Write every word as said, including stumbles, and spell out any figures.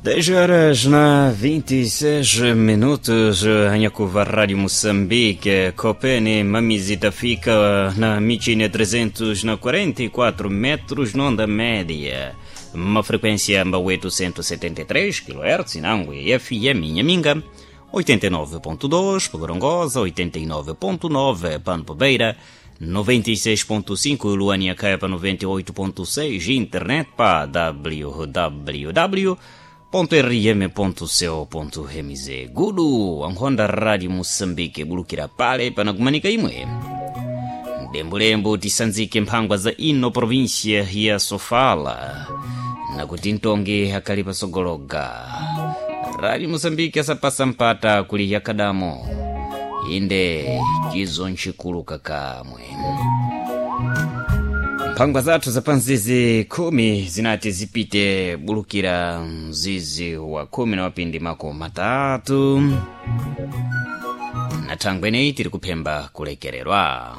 Dez horas na vinte e seis minutos, Anhacuva, Rádio Moçambique, Copene, Mamizita fica na Michine trezentos e quarenta e quatro metros, na onda média. Uma frequência oitocentos e setenta e três quilohertz, Inangue F M Inhaminga, oitenta e nove ponto dois, Gorongosa, oitenta e nove ponto nove, Pampa Beira, noventa e seis ponto cinco, Luania Caipa, noventa e oito ponto seis, internet pa W W W ponto R M ponto co ponto M Z. Gudu Ankhonda, Rádio Moçambique, bulukira pale panakumanika imwe. Dembulembu tisanzike mphangwa za ino província ya Sofala nakuti ntongi akali pasogologa. Rádio Moçambique asapasa mpata kuli yakadamo inde chizo nchikuluka kamwe. Mphangwa zathu za panzizi khumi zinati zipite bulukira mzizi wa khumi na wapindi mako matatu na thangweneyi tiri kuphemba kulekererwa.